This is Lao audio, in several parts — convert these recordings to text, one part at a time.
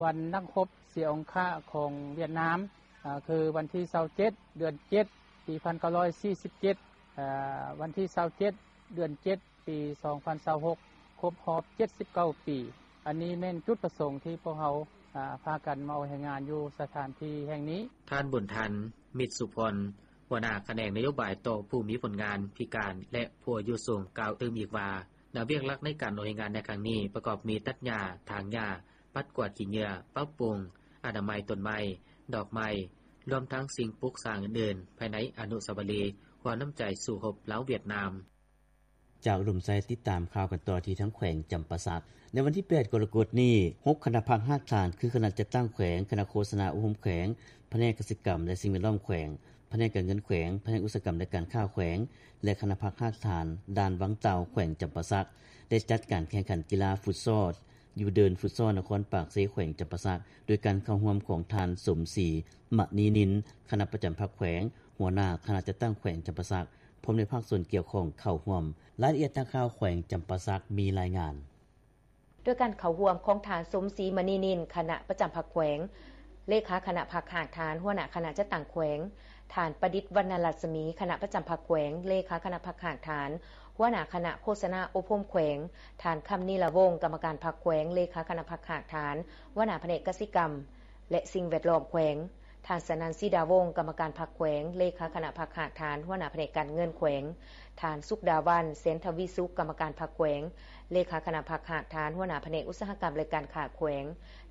ວັນນັກຮົບເສຍອົງຄະຂອງຫວຽດນາມ ຄືວັນທີຊາວເຈັດ ເດືອນເຈັດ ປີພັນເກົ້າຮ້ອຍສີ່ສິບເຈັດ ວັນທີຊາວເຈັດ ເດືອນເຈັດ ປີສອງພັນຊາວຫົກ ຄົບຮອບເຈັດສິບເກົ້າປີ. ອັນນີ້ແມ່ນຈຸດປະສົງທີ່ພວກເຮົາ ອາ ພາກັນມາອອກແຮງງານຢູ່ສະຖານທີ່ແຫ່ງນີ້. ທ່ານ ບຸນທັນ ມິດສຸພົນ ຫົວໜ້າຂະແໜງນະໂຍບາຍຕໍ່ຜູ້ມີຜົນງານພິການ ແລະ ຜູ້ອາຍຸສູງ ກ່າວຕື່ມອີກວ່າ ໜ້າວຽກຫຼັກໃນການອອກແຮງງານໃນຄັ້ງນີ້ ປະກອບມີຕັດຫຍ້າ, ຖາງຫຍ້າ, ປັດກວາດຂີ້ເຫຍື້ອ, ປັບປຸງອະນາໄມຕົ້ນໄມ້, ດອກໄມ້ ລວມທັງສິ່ງປຸກສ້າງອື່ນໆ ພາຍໃນອະນຸສາວະລີ ຫົວນ້ຳໃຈສູ້ຮົບລາວ-ຫວຽດນາມ. ຈາກອຸດົມໄຊ ຕິດຕາມຂ່າວກັນຕໍ່ທີ່ທາງແຂວງຈຳປາສັກ. ໃນວັນທີແປດ ກໍລະກົດນີ້ ຫົກຄະນະພັກຮາກຖານ ຄືຄະນະຈັດຕັ້ງແຂວງ, ຄະນະໂຄສະນາອົບຮົມແຂວງ, ພະແນກກະສິກຳ ແລະ ສິ່ງແວດລ້ອມແຂວງ, ພະແນກການເງິນແຂວງ, ພະແນກອຸດສາຫະກຳ ແລະ ການຄ້າແຂວງ ແລະ ຄະນະພັກຮາກຖານ ດ່ານວັງເຕົ່າ ແຂວງຈຳປາສັກ ໄດ້ຈັດການແຂ່ງຂັນກິລາຟຸດຊອລ ຢູ່ເດີ່ນຟຸດຊອລນະຄອນປາກເຊ ແຂວງຈຳປາສັກ ໂດຍການເຂົ້າຮ່ວມຂອງທ່ານ ສົມສີ ມະນີນິນ ຄະນະປະຈຳພັກແຂວງ, ຫົວໜ້າຄະນະຈັດຕັ້ງແຂວງຈຳປາສັກ ພ້ອມດ້ວຍພາກສ່ວນກ່ຽວຂ້ອງເຂົ້າຮ່ວມ. ລາຍລະອຽດນັກຂ່າວແຂວງຈຳປາສັກມີລາຍງານ. ໂດຍການເຂົ້າຮ່ວມຂອງທ່ານ ສົມສີ ມະນີນິນ ຄະນະປະຈຳພັກແຂວງ, ເລຂາຄະນະພັກຮາກຖານ ຫົວໜ້າຄະນະຈັດຕັ້ງແຂວງ, ທ່ານ ປະດິດ ວັນນະລັດສະໝີ ຄະນະປະຈຳພັກແຂວງ, ເລຂາຄະນະພັກຮາກຖານ ຫົວໜ້າຄະນະໂຄສະນາອົບຮົມແຂວງ, ທ່ານ ຄຳນີລະວົງ ກຳມະການພັກແຂວງ, ເລຂາຄະນະພັກຮາກຖານ ຫົວໜ້າພະແນກກະສິກຳ ແລະ ສິ່ງແວດລ້ອມແຂວງ, ທ່ານ ສະນັນ ສີດາວົງ ກຳມະການພັກແຂວງ, ເລຂາຄະນະພັກຮາກຖານ ຫົວໜ້າພະແນກການເງິນແຂວງ, ທ່ານ ສຸກດາວັນ ແສນທະວີສຸກ ກຳມະການພັກແຂວງ, ເລຂາຄະນະພັກຮາກຖານ ຫົວໜ້າພະແນກອຸດສາຫະກຳ ແລະ ການຄ້າແຂວງ,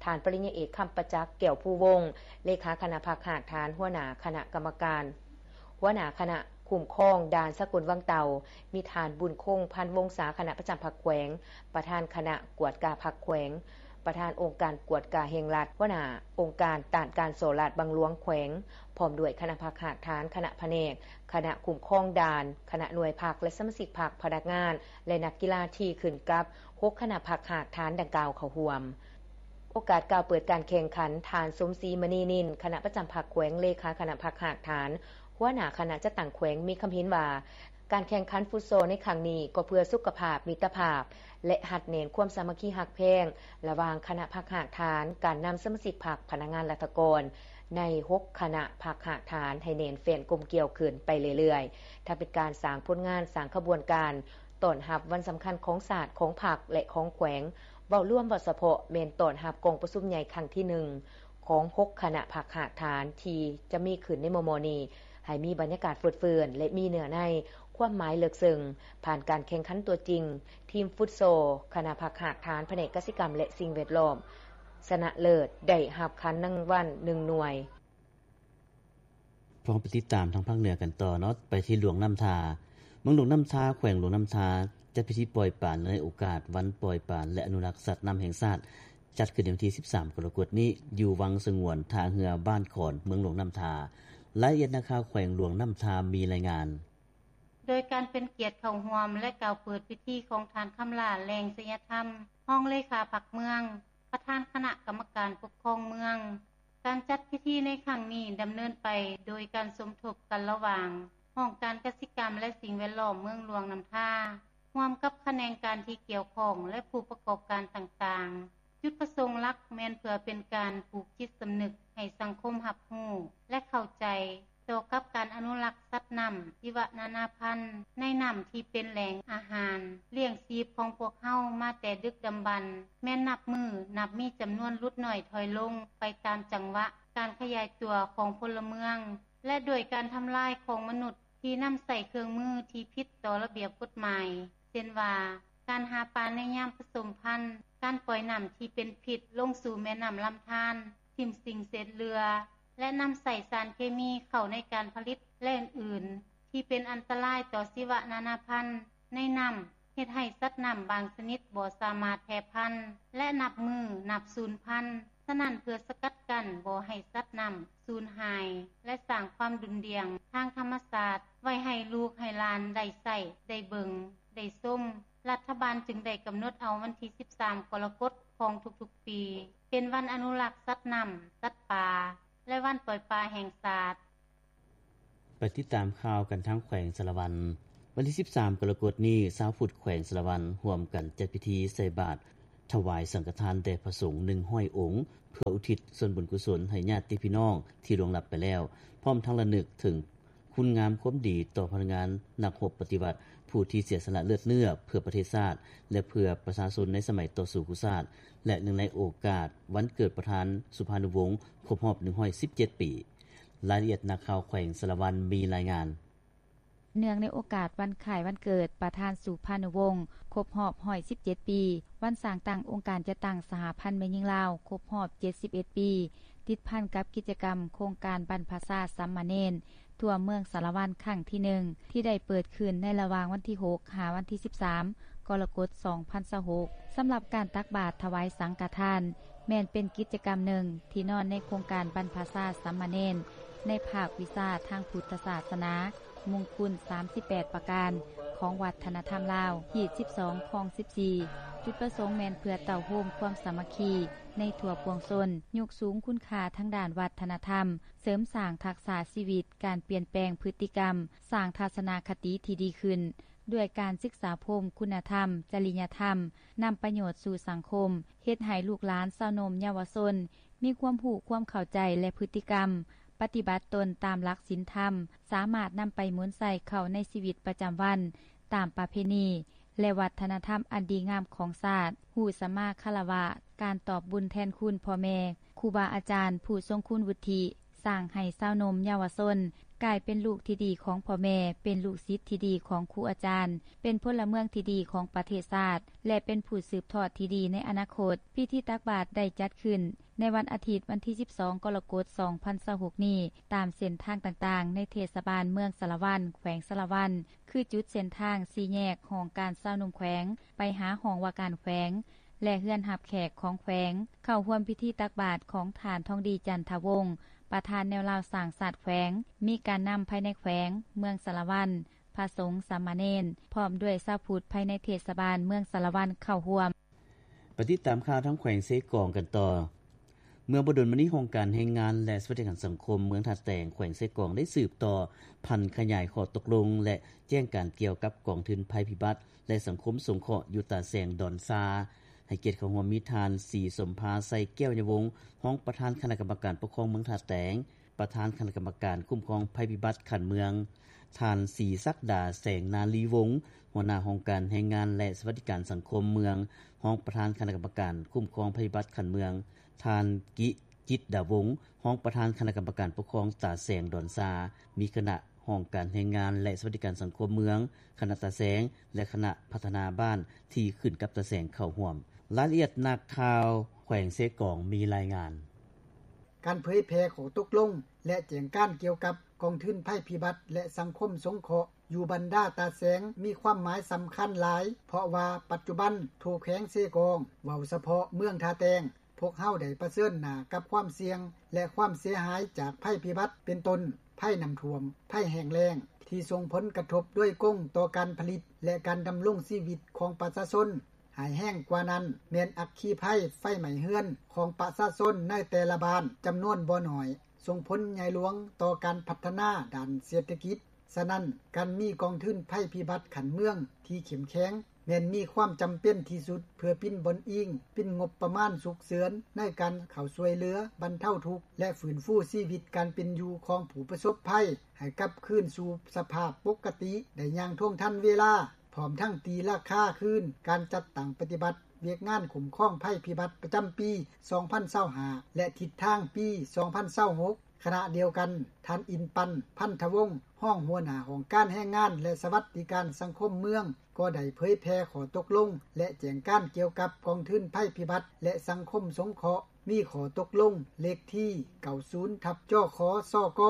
ທ່ານ ປະລິນຍາເອກ ຄຳປະຈັກ ແກ້ວພູວົງ ເລຂາຄະນະພັກຮາກຖານ ຫົວໜ້າຄະນະກຳມະການ ຫົວໜ້າຄະນະຄຸ້ມຄອງດ່ານສາກົນວັງເຕົ່າ, ມີທ່ານ ບຸນຄົງ ພັນວົງສາ ຄະນະປະຈຳພັກແຂວງ, ປະທານຄະນະກວດກາພັກແຂວງ, ປະທານອົງການກວດກາແຫ່ງລັດ, ຫົວໜ້າອົງການຕ້ານການສໍ້ລາດບັງຫຼວງແຂວງ, ພ້ອມດ້ວຍຄະນະພັກຮາກຖານ, ຄະນະພະແນກ, ຄະນະຄຸ້ມຄອງດ່ານ, ຄະນະໜ່ວຍພັກ ແລະ ສະມາຊິກພັກ, ພະນັກງານ ແລະ ນັກກິລາທີ່ຂຶ້ນກັບຫົກຄະນະພັກຮາກຖານດັ່ງກ່າວເຂົ້າຮ່ວມ. ໂອກາດກ່າວເປີດການແຂ່ງຂັນ, ທ່ານ ສົມສີ ມະນີນິນ ຄະນະປະຈຳພັກແຂວງ, ເລຂາຄະນະພັກຮາກຖານ, ຫົວໜ້າຄະນະຈັດຕັ້ງແຂວງ ມີຄຳເຫັນວ່າ ການແຂ່ງຂັນຟຸດຊອລໃນຄັ້ງນີ້ກໍເພື່ອສຸຂະພາບ, ມິດຕະພາບ ແລະ ຮັດແໜ້ນຄວາມສາມັກຄີຮັກແພງລະຫວ່າງຄະນະພັກຮາກຖານ, ການນຳສະມາຊິກພັກ, ພະນັກງານລັດຖະກອນໃນຫົກຄະນະພັກຮາກຖານໃຫ້ແໜ້ນແຟ້ນກົມກຽວຂຶ້ນໄປເລື້ອຍໆ, ທັງເປັນການສ້າງຜົນງານ, ສ້າງຂະບວນການ ຕ້ອນຮັບວັນສຳຄັນຂອງຊາດ, ຂອງພັກ ແລະ ຂອງແຂວງ, ເວົ້າລວມ, ເວົ້າສະເພາະ ແມ່ນຕ້ອນຮັບກອງປະຊຸມໃຫຍ່ຄັ້ງທີໜຶ່ງຂອງຫົກຄະນະພັກຮາກຖານທີ່ຈະມີຂຶ້ນໃນມໍ່ໆນີ້ ໃຫ້ມີບັນຍາກາດຟົດເຟື່ອນ ແລະ ມີເນື້ອໃນ, ຄວາມໝາຍເລິກເຊິ່ງ. ຜ່ານການແຂ່ງຂັນຕົວຈິງ, ທີມຟຸດຊອລຄະນະພັກຮາກຖານ ພະແນກກະສິກຳ ແລະ ສິ່ງແວດລ້ອມ ຊະນະເລີດ ໄດ້ຮັບຂັນລາງວັນໜຶ່ງໜ່ວຍ. ພ້ອມໄປຕິດຕາມທາງພາກເໜືອກັນຕໍ່ເນາະ, ໄປທີ່ຫຼວງນ້ຳທາ. ເມືອງຫຼວງນ້ຳທາ, ແຂວງຫຼວງນ້ຳທາ ຈັດພິທີປ່ອຍປານເນື່ອງໃນໂອກາດວັນປ່ອຍປານ ແລະ ອະນຸລັກສັດນ້ຳແຫ່ງຊາດ ຈັດຂຶ້ນໃນວັນທີສິບສາມ ກໍລະກົດນີ້ ຢູ່ວັງສະຫງວນທ່າເຮືອບ້ານຂອນ ເມືອງຫຼວງນ້ຳທາ. ລາຍລະອຽດນັກຂ່າວແຂວງຫຼວງນ້ຳທາມີລາຍງານ. ໂດຍການເປັນກຽດເຂົ້າຮ່ວມ ແລະ ກ່າວເປີດພິທີຂອງທ່ານ ຄຳຫຼ້າ ແລງໄຊຍະທຳ ຮອງເລຂາພັກເມືອງ, ປະທານຄະນະກຳມະການປົກຄອງເມືອງ. ການຈັດພິທີໃນຄັ້ງນີ້ດຳເນີນໄປໂດຍການສົມທົບກັນລະຫວ່າງຫ້ອງການກະສິກຳ ແລະ ສິ່ງແວດລ້ອມເມືອງຫຼວງນ້ຳທາ ຮ່ວມກັບຂະແໜງການທີ່ກ່ຽວຂ້ອງ ແລະ ຜູ້ປະກອບການຕ່າງໆ. ຈຸດປະສົງຫຼັກແມ່ນເພື່ອເປັນການປູກຈິດສຳນຶກໃຫ້ສັງຄົມຮັບຮູ້ ແລະ ເຂົ້າໃຈ ຕໍ່ກັບການອະນຸລັກສັດນ້ຳ ຊີວະນານາພັນ ໃນນ້ຳທີ່ເປັນແຫຼ່ງອາຫານລ້ຽງຊີບຂອງພວກເຮົາມາແຕ່ດຶກດຳບັນ, ແມ່ນນັບມື້ນັບມີຈຳນວນຫຼຸດໜ້ອຍຖອຍລົງໄປຕາມຈັງຫວະການຂະຫຍາຍຕົວຂອງພົນລະເມືອງ ແລະ ດ້ວຍການທຳລາຍຂອງມະນຸດທີ່ນຳໃຊ້ເຄື່ອງມືທີ່ຜິດຕໍ່ລະບຽບກົດໝາຍ, ເຊັ່ນວ່າ ການຫາປາໃນຍາມປະສົມພັນ, ການປ່ອຍນ້ຳທີ່ເປັນພິດລົງສູ່ແມ່ນ້ຳລຳທານ, ຖິ້ມສິ່ງເສດເຫຼືອ ແລະ ນຳໃຊ້ສານເຄມີເຂົ້າໃນການຜະລິດ ແລະ ອື່ນໆ ທີ່ເປັນອັນຕະລາຍຕໍ່ຊີວະນານາພັນໃນນ້ຳ, ເຮັດໃຫ້ສັດນ້ຳບາງຊະນິດບໍ່ສາມາດແຜ່ພັນ ແລະ ນັບມື້ນັບສູນພັນ. ສະນັ້ນ, ເພື່ອສະກັດກັ້ນບໍ່ໃຫ້ສັດນ້ຳສູນຫາຍ ແລະ ສ້າງຄວາມດຸ່ນດ່ຽງທາງທຳມະຊາດໄວ້ໃຫ້ລູກໃຫ້ຫຼານໄດ້ໃຊ້, ໄດ້ເບິ່ງ, ໄດ້ຊົມ, ລັດຖະບານຈຶ່ງໄດ້ກຳນົດເອົາວັນທີສິບສາມ ກໍລະກົດຂອງທຸກໆປີ ເປັນວັນອະນຸລັກສັດນ້ຳ, ສັດປ່າ ແລະ ວັນປ່ອຍປາແຫ່ງຊາດ. ໄປຕິດຕາມຂ່າວກັນທາງແຂວງສາລະວັນ. ວັນທີສິບສາມ ກໍລະກົດນີ້, ຊາວພຸດແຂວງສາລະວັນ ຮ່ວມກັນຈັດພິທີໃສ່ບາດ ຖວາຍສັງຄະທານແດ່ພະສົງ ໜຶ່ງຮ້ອຍອົງ ເພື່ອອຸທິດສ່ວນບຸນກຸສົນໃຫ້ຍາດຕິພີ່ນ້ອງທີ່ລ່ວງລັບໄປແລ້ວ, ພ້ອມທັງລະນຶກເຖິງຄຸນງາມຄວາມດີຕໍ່ພະນັກງານນັກຮົບປະຕິວັດ ຜູ້ທີ່ເສຍສະຫຼະເລືອດເນື້ອເພື່ອປະເທດຊາດ ແລະ ເພື່ອປະຊາຊົນໃນສະໄໝຕໍ່ສູ້ຄູ່ຊາດ ແລະ ເນື່ອງໃນໂອກາດວັນເກີດປະທານສຸພານຸວົງ ຄົບຮອບ ໜຶ່ງຮ້ອຍສິບເຈັດປີ. ລາຍລະອຽດນັກຂ່າວແຂວງສາລະວັນມີລາຍງານ. ເນື່ອງໃນໂອກາດວັນຄ້າຍວັນເກີດປະທານສຸພານຸວົງ ຄົບຮອບ ໜຶ່ງຮ້ອຍສິບເຈັດປີ, ວັນສ້າງຕັ້ງອົງການຈັດຕັ້ງສະຫະພັນແມ່ຍິງລາວ ຄົບຮອບ ເຈັດສິບເອັດປີ, ຕິດພັນກັບກິດຈະກຳໂຄງການບັນພະຊາສາມະເນນທົ່ວເມືອງສາລະວັນຄັ້ງທີໜຶ່ງ ທີ່ໄດ້ເປີດຂຶ້ນໃນລະຫວ່າງວັນທີຫົກ ຫາວັນທີສິບສາມ ກໍລະກົດ ສອງພັນຊາວຫົກ. ສຳລັບການຕັກບາດຖວາຍສັງຄະທານ ແມ່ນເປັນກິດຈະກຳໜຶ່ງທີ່ນອນໃນໂຄງການບັນພະຊາສາມະເນນ ໃນພາກວິຊາທາງພຸດທະສາສະໜາ ມຸງຄຸນ ສາມສິບແປດປະການ ຂອງວັດທະນະທຳລາວ ຮີດ ສິບສອງ ຄອງ ສິບສີ່. ຈຸດປະສົງແມ່ນເພື່ອເຕົ້າໂຮມຄວາມສາມັກຄີໃນທົ່ວປວງຊົນ, ຍົກສູງຄຸນຄ່າທາງດ້ານວັດທະນະທຳ, ເສີມສ້າງທັກສະຊີວິດ, ການປ່ຽນແປງພຶດຕິກຳ, ສ້າງທັດສະນະຄະຕິທີ່ດີຂຶ້ນ ດ້ວຍການສຶກສາພົມ, ຄຸນນະທຳ, ຈະລິຍະທຳ, ນຳປະໂຫຍດສູ່ສັງຄົມ, ເຮັດໃຫ້ລູກຫຼານຊາວໜຸ່ມເຍົາວະຊົນ ມີຄວາມຮູ້ຄວາມເຂົ້າໃຈ ແລະ ພຶດຕິກຳ ປະຕິບັດຕົນຕາມຫຼັກສິນທຳ, ສາມາດນຳໄປໝູນໃຊ້ເຂົ້າໃນຊີວິດປະຈຳວັນ ຕາມປະເພນີ ແລະ ວັດທະນະທຳອັນດີງາມຂອງຊາດ, ຮູ້ສະມາຄາລະວະ, ການຕອບບຸນແທນຄຸນພໍ່ແມ່, ຄູບາອາຈານ, ຜູ້ຊົງຄຸນວຸດທິ, ສ້າງໃຫ້ຊາວໜຸ່ມເຍົາວະຊົນກາຍເປັນລູກທີ່ດີຂອງພໍ່ແມ່, ເປັນລູກສິດທີ່ດີຂອງຄູອາຈານ, ເປັນພົນລະເມືອງທີ່ດີຂອງປະເທດຊາດ ແລະ ເປັນຜູ້ສືບທອດທີ່ດີໃນອະນາຄົດ. ພິທີຕັກບາດໄດ້ຈັດຂຶ້ນໃນວັນອາທິດ ວັນທີສິບສອງ ກໍລະກົດ ສອງພັນຊາວຫົກນີ້ ຕາມເສັ້ນທາງຕ່າງໆ ໃນເທດສະບານເມືອງສາລະວັນ ແຂວງສາລະວັນ ຄືຈຸດເສັ້ນທາງສີ່ແຍກຫ້ອງການຊາວໜຸ່ມແຂວງ ໄປຫາຫ້ອງວ່າການແຂວງ ແລະ ເຮືອນຮັບແຂກຂອງແຂວງ. ເຂົ້າຮ່ວມພິທີຕັກບາດຂອງທ່ານ ທອງດີ ຈັນທະວົງ ປະທານແນວລາວສ້າງຊາດແຂວງ, ມີການນຳພາຍໃນແຂວງ, ເມືອງສາລະວັນ, ພະສົງ, ສາມະເນນ ພ້ອມດ້ວຍຊາວພຸດພາຍໃນເທດສະບານເມືອງສາລະວັນເຂົ້າຮ່ວມ. ໄປຕິດຕາມຂ່າວທາງແຂວງເຊກອງກັນຕໍ່. ເມື່ອບໍ່ດົນມານີ້ ຫ້ອງການແຮງງານ ແລະ ສະຫວັດດີການສັງຄົມເມືອງທ່າແຕງ ແຂວງເຊກອງ ໄດ້ສືບຕໍ່ຜັນຂະຫຍາຍຂໍ້ຕົກລົງ ແລະ ແຈ້ງການກ່ຽວກັບກອງທຶນໄພພິບັດ ແລະ ສັງຄົມສົງເຄາະຢູ່ຕາແສງ ດອນຊາ ໃຫ້ກຽດເຂົ້າຮ່ວມມີທ່ານ ສີສົມພາ ໄຊແກ້ວຍະວົງ ຮອງປະທານຄະນະກຳມະການປົກຄອງເມືອງທ່າແຕງ, ປະທານຄະນະກຳມະການຄຸ້ມຄອງໄພພິບັດຂັ້ນເມືອງ, ທ່ານ ສີສັກດາ ແສງນາລີວົງ ຫົວໜ້າຫ້ອງການແຮງງານ ແລະ ສະຫວັດດີການສັງຄົມເມືອງ, ຮອງປະທານຄະນະກຳມະການຄຸ້ມຄອງໄພພິບັດຂັ້ນເມືອງ, ທ່ານ ກິ ຈິດດາວົງ ຮອງປະທານຄະນະກຳມະການປົກຄອງຕາແສງ ດອນຊາ, ມີຄະນະຫ້ອງການແຮງງານ ແລະ ສະຫວັດດີການສັງຄົມເມືອງ, ຄະນະຕາແສງ ແລະ ຄະນະພັດທະນາບ້ານທີ່ຂຶ້ນກັບຕາແສງເຂົ້າຮ່ວມ. ລາຍລະອຽດນັກຂ່າວແຂວງເຊກອງມີລາຍງານ. ການເຜີຍແຜ່ຂໍ້ຕົກລົງ ແລະ ແຈ້ງການກ່ຽວກັບກອງທຶນໄພພິບັດ ແລະ ສັງຄົມສົງເຄາະ ຢູ່ບັນດາຕາແສງ ມີຄວາມໝາຍສຳຄັນຫຼາຍ, ເພາະວ່າປັດຈຸບັນທົ່ວແຂວງເຊກອງ, ເວົ້າສະເພາະເມືອງທ່າແຕງ, ພວກເຮົາໄດ້ປະເຊີນໜ້າກັບຄວາມສ່ຽງ ແລະ ຄວາມເສຍຫາຍຈາກໄພພິບັດ ເປັນຕົ້ນ ໄພນ້ຳຖ້ວມ, ໄພແຫ້ງແລ້ງ ທີ່ສົ່ງຜົນກະທົບໂດຍກົງຕໍ່ການຜະລິດ ແລະ ການດຳລົງຊີວິດຂອງປະຊາຊົນ. ຮ້າຍແຮງກວ່ານັ້ນແມ່ນອັກຄີໄພໄຟໄໝ້ເຮືອນຂອງປະຊາຊົນໃນແຕ່ລະບ້ານຈຳນວນບໍ່ໜ້ອຍ ສົ່ງຜົນໃຫຍ່ຫຼວງຕໍ່ການພັດທະນາດ້ານເສດຖະກິດ. ສະນັ້ນ, ການມີກອງທຶນໄພພິບັດຂັ້ນເມືອງທີ່ເຂັ້ມແຂງ ແມ່ນມີຄວາມຈຳເປັນທີ່ສຸດ ເພື່ອປິ່ນບ່ອນອີງ, ປິ່ນງົບປະມານສຸກເສີນໃນການເຂົ້າຊ່ວຍເຫຼືອບັນເທົາທຸກ ແລະ ຟື້ນຟູຊີວິດການເປັນຢູ່ຂອງຜູ້ປະສົບໄພ ໃຫ້ກັບຄືນສູ່ສະພາບປົກກະຕິໄດ້ຢ່າງທ່ວງທັນເວລາ, ພ້ອມທັງຕີລາຄາຄືນການຈັດຕັ້ງປະຕິບັດວຽກງານຄຸ້ມຄອງໄພພິບັດປະຈຳປີສອງພັນຊາວຫ້າ ແລະ ທິດທາງປີສອງພັນຊາວຫົກ. ຂະນະດຽວກັນ, ທ່ານ ອິນປັນ ພັນທະວົງ ຮອງຫົວໜ້າຫ້ອງການແຮງງານ ແລະ ສະຫວັດດີການສັງຄົມເມືອງ ກໍໄດ້ເຜີຍແຜ່ຂໍ້ຕົກລົງ ແລະ ແຈ້ງການກ່ຽວກັບກອງທຶນໄພພິບັດ ແລະ ສັງຄົມສົງເຄາະ. ມີຂໍ້ຕົກລົງເລກທີເກົ້າສິບທັບ ຈຂ ສກ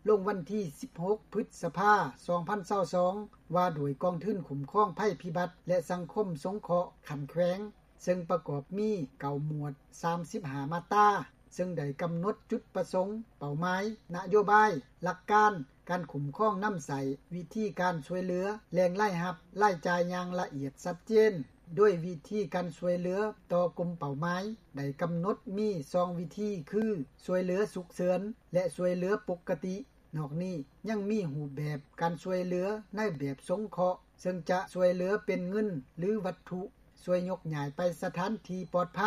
ລົງວັນທີສິບຫົກ ພຶດສະພາ ສອງພັນຊາວສອງ ວ່າດ້ວຍກອງທຶນຄຸ້ມຄອງໄພພິບັດ ແລະ ສັງຄົມສົງເຄາະຂັ້ນແຂວງ, ເຊິ່ງປະກອບມີເກົ້າໝວດ ສາມສິບຫ້າມາດຕາ, ເຊິ່ງໄດ້ກຳນົດຈຸດປະສົງ, ເປົ້າໝາຍ, ນະໂຍບາຍ, ຫຼັກການ, ການຄຸ້ມຄອງນຳໃຊ້, ວິທີການຊ່ວຍເຫຼືອ, ແຫຼ່ງລາຍຮັບ, ລາຍຈ່າຍຢ່າງລະອຽດຊັດເຈນ. ໂດຍວິທີການຊ່ວຍເຫຼືອຕໍ່ກຸ່ມເປົ້າໝາຍໄດ້ກຳນົດມີສອງວິທີ ຄື ຊ່ວຍເຫຼືອສຸກເສີນ ແລະ ຊ່ວຍເຫຼືອປົກກະຕິ. ນອກນີ້ຍັງມີຮູບແບບການຊ່ວຍເຫຼືອໃນແບບສົງເຄາະ, ເຊິ່ງຈະຊ່ວຍເຫຼືອເປັນເງິນ ຫຼື ວັດຖຸ. ຊ່ວຍຍົກຍ້າຍໄປສະຖານທີ່ປອດໄພ,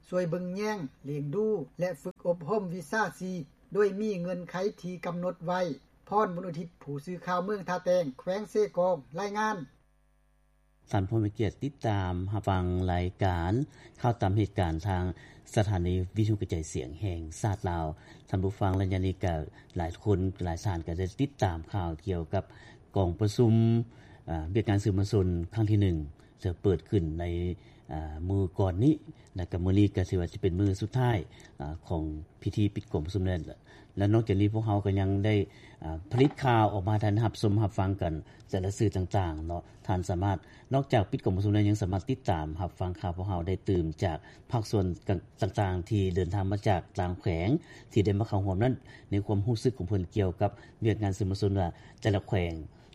ຊ່ວຍເບິ່ງແຍງ, ລ້ຽງດູ ແລະ ຝຶກອົບຮົມວິຊາຊີບ ໂດຍມີເງື່ອນໄຂທີ່ກຳນົດໄວ້. ພອນ ບຸນອຸທິດ ຜູ້ສື່ຂ່າວເມືອງທ່າແຕງ ແຂວງເຊກອງ ລາຍງານ. ທ່ານຜູ້ມີກຽດຕິດຕາມຮັບຟັງລາຍການຂ່າວຕາມເຫດການທາງສະຖານີວິທະຍຸກະຈາຍສຽງແຫ່ງຊາດລາວ. ທ່ານຜູ້ຟັງ ໄລຍະນີ້ກະຫຼາຍຄົນຫຼາຍທ່ານກະໄດ້ຕິດຕາມຂ່າວກ່ຽວກັບກອງປະຊຸມ ອາ ວຽກງານສື່ມວນຊົນຄັ້ງທີໜຶ່ງ ຈະເປີດຂຶ້ນໃນ ອາ ມື້ກ່ອນນີ້ ແລະກະມື້ນີ້ກະຖືວ່າຈະເປັນມື້ສຸດທ້າຍ ອາ ຂອງພິທີປິດກອງປະຊຸມນັ້ນ. ແລະນອກຈາກນີ້ພວກເຮົາກໍຍັງໄດ້ ອາ ຜະລິດຂ່າວອອກມາໃຫ້ທ່ານຮັບຊົມຮັບຟັງກັນແຕ່ລະສື່ຕ່າງໆເນາະ. ທ່ານສາມາດ ນອກຈາກປິດກອງປະຊຸມແລ້ວ ຍັງສາມາດຕິດຕາມຮັບຟັງຂ່າວພວກເຮົາໄດ້ຕື່ມຈາກພາກສ່ວນຕ່າງໆທີ່ເດີນທາງມາຈາກຕ່າງແຂວງ ທີ່ໄດ້ມາເຂົ້າຮ່ວມນັ້ນ ໃນຄວາມຮູ້ສຶກຂອງເພິ່ນກ່ຽວກັບວຽກງານສື່ມວນຊົນວ່າ ແຕ່ລະແຂວງ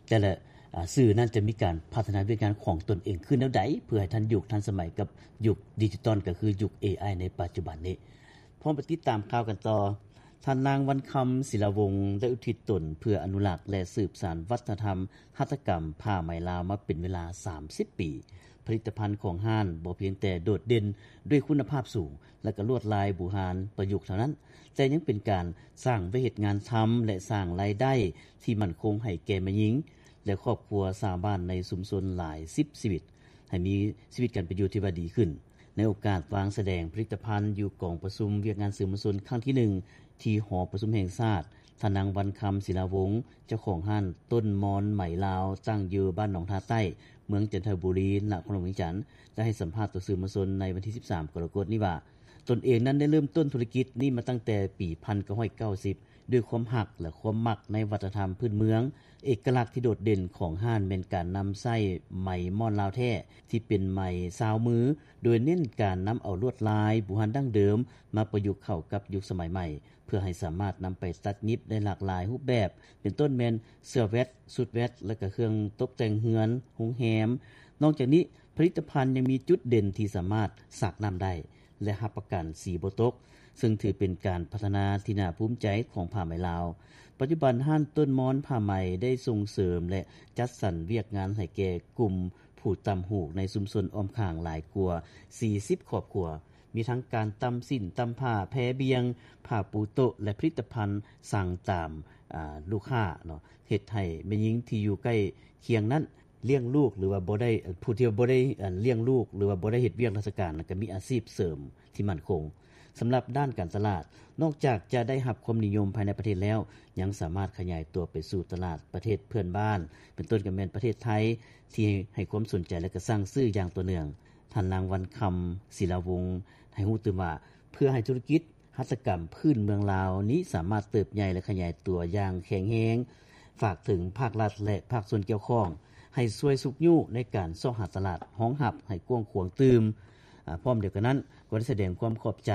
ແຕ່ລະ ອາ ສື່ນັ້ນຈະມີການພັດທະນາວຽກງານຂອງຕົນເອງຂຶ້ນແນວໃດ ເພື່ອໃຫ້ທັນຍຸກທັນສະໄໝກັບຍຸກດິຈິຕອນ ກໍຄືຍຸກ ເອໄອ ໃນປັດຈຸບັນນີ້. ພ້ອມໄປຕິດຕາມຂ່າວກັນຕໍ່. ທ່ານນາງ ວັນຄຳ ສິລາວົງ ໄດ້ອຸທິດຕົນເພື່ອອະນຸລັກ ແລະ ສືບສານວັດທະນະທຳຫັດຖະກຳຜ້າໄໝລາວມາເປັນເວລາສາມສິບປີ. ຜະລິດຕະພັນຂອງຮ້ານບໍ່ພຽງແຕ່ໂດດເດັ່ນດ້ວຍຄຸນນະພາບສູງ ແລະ ກະລວດລາຍບູຮານປະຍຸກເທົ່ານັ້ນ, ແຕ່ຍັງເປັນການສ້າງວຽກເຮັດງານທຳ ແລະ ສ້າງລາຍໄດ້ທີ່ໝັ້ນຄົງໃຫ້ແກ່ແມ່ຍິງ ແລະ ຄອບຄົວຊາວບ້ານໃນຊຸມຊົນຫຼາຍສິບຊີວິດ ໃຫ້ມີຊີວິດການເປັນຢູ່ທີ່ວ່າດີຂຶ້ນ. ໃນໂອກາດວາງສະແດງຜະລິດຕະພັນຢູ່ກອງປະຊຸມວຽກງານສື່ມວນຊົນຄັ້ງທີໜຶ່ງ ທີ່ຫໍປະຊຸມແຫ່ງຊາດ, ທ່ານນາງ ວັນຄຳ ສິລາວົງ ເຈົ້າຂອງຮ້ານຕົ້ນມອນໄໝລາວ ຕັ້ງຢູ່ບ້ານໜອງທ່າໃຕ້ ເມືອງຈັນທະບູລີ ນະຄອນຫຼວງວຽງຈັນ ໄດ້ໃຫ້ສຳພາດຕໍ່ສື່ມວນຊົນໃນວັນທີສິບສາມ ກໍລະກົດນີ້ວ່າ ຕົນເອງນັ້ນໄດ້ເລີ່ມຕົ້ນທຸລະກິດນີ້ມາຕັ້ງແຕ່ປີພັນເກົ້າຮ້ອຍເກົ້າສິບ ດ້ວຍຄວາມຮັກ ແລະ ຄວາມມັກໃນວັດທະນະທຳພື້ນເມືອງ. ເອກະລັກທີ່ໂດດເດັ່ນຂອງຮ້ານແມ່ນການນຳໃຊ້ໄໝມ້ອນລາວແທ້ ທີ່ເປັນໄໝຊາວມື, ໂດຍເນັ້ນການນຳເອົາລວດລາຍບູຮານດັ້ງເດີມມາປະຍຸກເຂົ້າກັບຍຸກສະໄໝໃໝ່ ເພື່ອໃຫ້ສາມາດນຳໄປຕັດຫຍິບໄດ້ຫຼາກຫຼາຍຮູບແບບ, ເປັນຕົ້ນແມ່ນເສື້ອແວັດ, ຊຸດແວັດ ແລະ ກະເຄື່ອງຕົກແຕ່ງເຮືອນ, ໂຮງແຮມ. ນອກຈາກນີ້, ຜະລິດຕະພັນຍັງມີຈຸດເດັ່ນທີ່ສາມາດຊັກນ້ຳໄດ້ ແລະ ຮັບປະກັນສີບໍ່ຕົກ, ເຊິ່ງຖືເປັນການພັດທະນາທີ່ໜ້າພູມໃຈຂອງຜ້າໄໝລາວ. ປັດຈຸບັນ, ຮ້ານຕົ້ນມອນຜ້າໄໝໄດ້ສົ່ງເສີມ ແລະ ຈັດສັນວຽກງານໃຫ້ແກ່ກຸ່ມຜູ້ຕ່ຳຫູກໃນຊຸມຊົນອ້ອມຂ້າງຫຼາຍກວ່າສີ່ສິບຄອບຄົວ, ມີທັງການຕ່ຳສິ້ນ, ຕ່ຳຜ້າ, ແພບ່ຽງ, ຜ້າປູໂຕະ ແລະ ຜະລິດຕະພັນສັ່ງຕາມ ອາ ລູກຄ້າເນາະ, ເຮັດໃຫ້ແມ່ຍິງທີ່ຢູ່ໃກ້ຄຽງນັ້ນ ລ້ຽງລູກ ຫຼືວ່າບໍ່ໄດ້ ຜູ້ທີ່ບໍ່ໄດ້ ອາ ລ້ຽງລູກ ຫຼືວ່າບໍ່ໄດ້ເຮັດວຽກລາຊະການ ກໍມີອາຊີບເສີມທີ່ໝັ້ນຄົງ. ສຳລັບດ້ານການຕະຫຼາດ, ນອກຈາກຈະໄດ້ຮັບຄວາມນິຍົມພາຍໃນປະເທດແລ້ວ, ຍັງສາມາດຂະຫຍາຍຕົວໄປສູ່ຕະຫຼາດປະເທດເພື່ອນບ້ານ, ເປັນຕົ້ນກໍແມ່ນປະເທດໄທ ທີ່ໃຫ້ຄວາມສົນໃຈ ແລະ ກໍສັ່ງຊື້ຢ່າງຕໍ່ເນື່ອງ. ທ່ານນາງ ວັນຄຳ ສິລາວົງ ໃຫ້ຮູ້ຕື່ມວ່າ ເພື່ອໃຫ້ທຸລະກິດ ຫັດຖະກຳພື້ນເມືອງລາວນີ້ສາມາດເຕີບໃຫຍ່ ແລະ ຂະຫຍາຍຕົວຢ່າງແຂງແຮງ, ຝາກເຖິງພາກລັດ ແລະ ພາກສ່ວນກ່ຽວຂ້ອງ ໃຫ້ຊ່ວຍຊຸກຍູ້ໃນການຊອກຫາຕະຫຼາດຮອງຮັບໃຫ້ກວ້າງຂວາງຕື່ມ. ອາ ພ້ອມດຽວກັນນັ້ນ ກໍໄດ້ສະແດງຄວາມຂອບໃຈ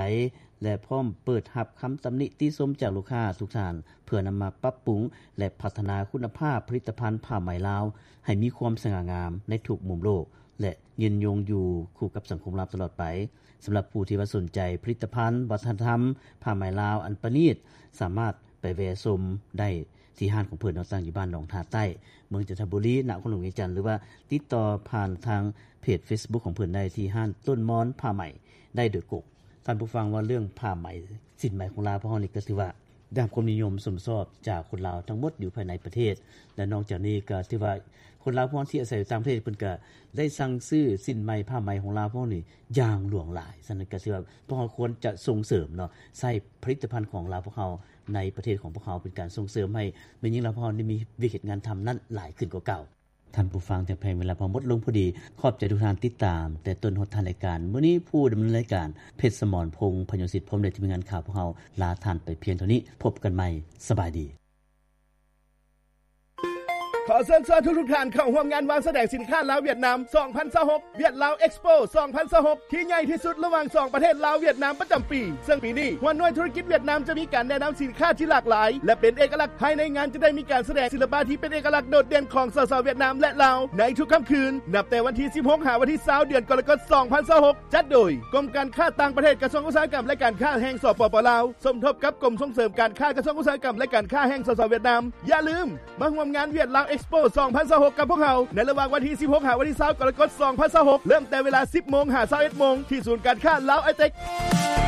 ແລະ ພ້ອມເປີດຮັບຄຳຕຳໜິຕິຊົມຈາກລູກຄ້າທຸກທ່ານ ເພື່ອນຳມາປັບປຸງ ແລະ ພັດທະນາຄຸນນະພາບຜະລິດຕະພັນຜ້າໄໝລາວ ໃຫ້ມີຄວາມສະຫງ່າງາມໃນທຸກມຸມໂລກ ແລະ ຍືນຍົງຢູ່ຄູ່ກັບສັງຄົມລາວຕະຫຼອດໄປ. ສຳລັບຜູ້ທີ່ວ່າສົນໃຈຜະລິດຕະພັນວັດທະນະທຳຜ້າໄໝລາວອັນປະນີດ, ສາມາດໄປແວ່ຊົມໄດ້ທີ່ຮ້ານຂອງເພິ່ນເນາະ, ຕັ້ງຢູ່ບ້ານໜອງທ່າໃຕ້ ເມືອງຈັນທະບູລີ ນະຄອນຫຼວງວຽງຈັນ ຫຼືວ່າຕິດຕໍ່ຜ່ານທາງເພຈເຟສບຸກຂອງເພິ່ນໄດ້ທີ່ຮ້ານຕົ້ນມອນຜ້າໄໝໄດ້ໂດຍກົງ. ທ່ານຜູ້ຟັງ, ວ່າເລື່ອງຜ້າໄໝ ສິ້ນໄໝຂອງລາວພວກເຮົານີ້ກໍຖືວ່າ ໄດ້ຮັບຄວາມນິຍົມຊົມຊອບຈາກຄົນລາວທັງໝົດຢູ່ພາຍໃນປະເທດ ແລະ ນອກຈາກນີ້ກໍຖືວ່າຄົນລາວພວກທີ່ອາໄສຢູ່ຕ່າງປະເທດ ເພິ່ນກໍໄດ້ສັ່ງຊື້ສິ້ນໄໝຜ້າໄໝຂອງລາວພວກນີ້ຢ່າງຫຼວງຫຼາຍ. ສະນັ້ນກໍຖືວ່າພວກເຮົາຄວນຈະສົ່ງເສີມເນາະ ໃຊ້ຜະລິດຕະພັນຂອງລາວພວກເຮົາໃນປະເທດຂອງພວກເຮົາ ເປັນການສົ່ງເສີມໃຫ້ແມ່ຍິງລາວພວກເຮົາໄດ້ມີວຽກເຮັດງານທຳນັ້ນຫຼາຍຂຶ້ນກວ່າເກົ່າ. ທ່ານຜູ້ຟັງທີ່ຮັກແພງ, ເວລາພວກເຮົາໝົດລົງພໍດີ. ຂອບໃຈທຸກທ່ານຕິດຕາມແຕ່ຕົ້ນຮອດທ້າຍລາຍການ. ມື້ນີ້ຜູ້ດຳເນີນລາຍການ ເພັດສະໝອນ ພົງ ພະຍງສິດ ພ້ອມດ້ວຍທີມງານຂ່າວພວກເຮົາ ລາທ່ານໄປພຽງເທົ່ານີ້. ພົບກັນໃໝ່. ສະບາຍດີ. ຂໍເຊີນຊວນທຸກໆທ່ານເຂົ້າຮ່ວມງານວາງສະແດງສິນຄ້າລາວ-ຫວຽດນາມ ສອງພັນຊາວຫົກ ຫວຽດລາວເອັກສໂປ ສອງພັນຊາວຫົກ ທີ່ໃຫຍ່ທີ່ສຸດລະຫວ່າງສອງປະເທດລາວ-ຫວຽດນາມປະຈຳປີ. ເຊິ່ງປີນີ້ ຫົວໜ່ວຍທຸລະກິດຫວຽດນາມຈະມີການແນະນຳສິນຄ້າທີ່ຫຼາກຫຼາຍ ແລະ ເປັນເອກະລັກ. ພາຍໃນງານຈະໄດ້ມີການສະແດງສິລະປະທີ່ເປັນເອກະລັກໂດດເດັ່ນຂອງ ສສ ຫວຽດນາມ ແລະ ລາວ ໃນທຸກຄ່ຳຄືນ ນັບແຕ່ວັນທີສິບຫົກ ຫາວັນທີຊາວ ເດືອນກໍລະກົດ ສອງພັນຊາວຫົກ ຈັດໂດຍ ກົມການຄ້າຕ່າງປະເທດ ກະຊວງອຸດສາຫະກຳ ແລະ ການຄ້າແຫ່ງ ສປປ ລາວ ສົມທົບກັບກົມສົ່ງເສີມການຄ້າ ກະຊວງອຸດສາຫະກຳ ແລະ ການຄ້າແຫ່ງ ສສ ຫວຽດນາມ. ຢ່າລືມ ມາຮ່ວມງານຫວຽດລາວ Expo ສອງພັນຊາວຫົກ ກັບພວກເຮົາ ໃນລະຫວ່າງວັນທີສິບຫົກ ຫາວັນທີຊາວ ກໍລະກົດ ສອງພັນຊາວຫົກ ເລີ່ມແຕ່ເວລາ ສິບໂມງ ຫາ ຊາວເອັດໂມງ ທີ່ສູນການຄ້າລາວໄອເຕັກ.